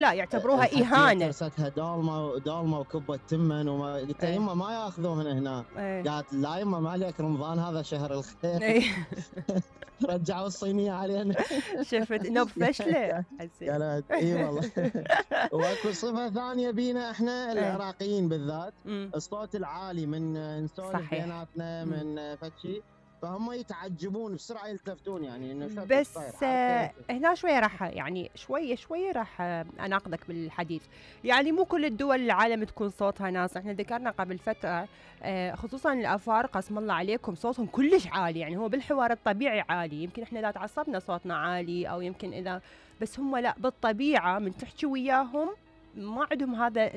لا يعتبروها إهانة. ترستها دولمة وكبة تمن قلت يمه ما ياخذوهن هنا. قالت لا يمه ما عليك، رمضان هذا شهر الخير. رجعوا الصينية علينا. شفت انه فشلة. قالت اي والله. واكو صفة ثانية بينا احنا العراقيين بالذات، الصوت العالي، من نسولف بيناتنا من فشي فهم يتعجبون بسرعة يلتفتون، يعني انه بس هنا شوية راح يعني شوية راح اناقضك بالحديث. يعني مو كل الدول العالم تكون صوتها ناس. احنا ذكرنا قبل فترة خصوصا الافارقة اسم الله عليكم صوتهم كلش عالي، يعني هو بالحوار الطبيعي عالي، يمكن احنا اذا تعصبنا صوتنا عالي او يمكن اذا، بس هم لا بالطبيعة من تحكي وياهم ما عندهم هذا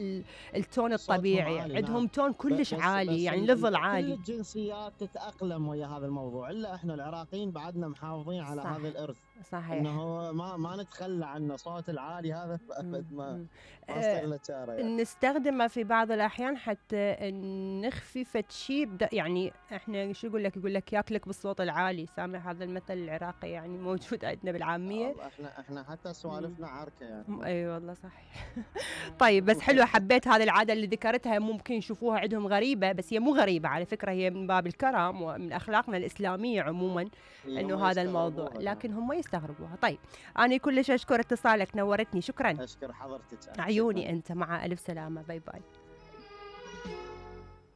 التون الطبيعي، عندهم تون كلش عالي، يعني ليفل عالي. كل الجنسيات تتأقلم ويا هذا الموضوع، الا احنا العراقيين بعدنا محافظين على هذا الارث. صحيح. انه ما نتخلى عنه، صوت العالي هذا ابد ما صار له يعني. نستخدمه في بعض الاحيان حتى نخفي فتشي يعني احنا شو يقول لك ياكلك بالصوت العالي، سامع هذا المثل العراقي يعني موجود عندنا بالعاميه. احنا حتى سوالفنا عركه يعني. اي والله صحيح. طيب بس حلوه، حبيت هذه العاده اللي ذكرتها، ممكن يشوفوها عندهم غريبه بس هي مو غريبه على فكره، هي من باب الكرم ومن اخلاقنا الاسلاميه عموما انه هذا الموضوع، لكن هم يستغربوها. طيب انا كلش اشكر اتصالك، نورتني، شكرا. اشكر حضرتك. عيوني انت، مع الف سلامه، باي باي.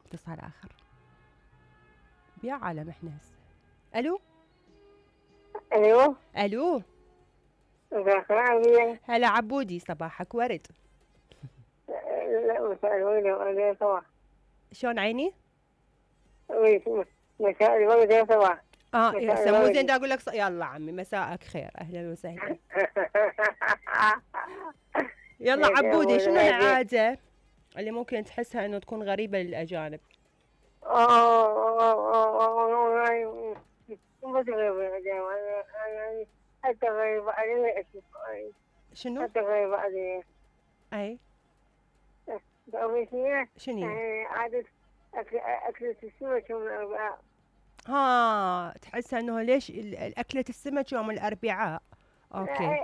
اتصال اخر يا عالم احنا هسه. الو الو هلا عبودي، صباحك ورد. لا مساء الورد يا صباح. شلون عيني؟ مساء الورد يا صباح. مو زين دا اقول لك يلا عمي مساءك خير، اهلا وسهلا. يلا عبودي، شنو العاده اللي ممكن تحسها انه تكون غريبه للاجانب؟ حتى غريبة علي. شنو؟ حتى غريبة علي. اي شنو؟ عادة أكلة السمك يوم الأربعاء. تحسها انه ليش أكلة السمك يوم الأربعاء؟ اوكي.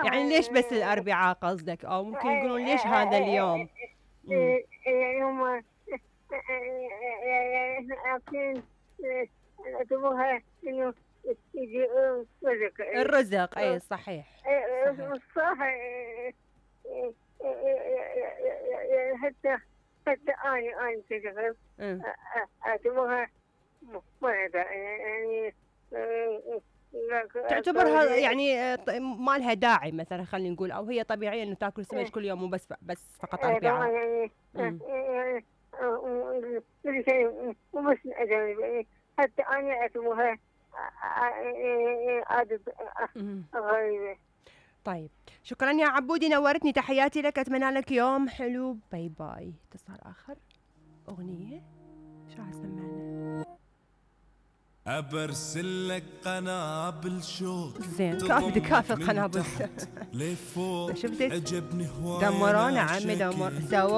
يعني ليش بس الأربعاء قصدك، او ممكن يقولون ليش هذا اليوم؟ يعني هم اكلين اعتبروها انه يجي الرزق. اي صحيح. صح. حتى أنا كذا اعتبرها مرضى يعني. تعتبرها يعني ما لها داعي مثلا، خلينا نقول، او هي طبيعيه انه تاكل سمك كل يوم وبس فقط اربعاء. يعني كل شيء مو بس الاجانب، حتى انا اعتبرها عادة غريبة. طيب شكرا يا عبودي، نورتني، تحياتي لك، اتمنى لك يوم حلو، باي باي. اتصال اخر، اغنيه شو سمعنا؟ أبرسل لك قنابل شوق زين كافي قنابل. لفوق شفت عجبني هواي دمرونا عمي، دمر سوا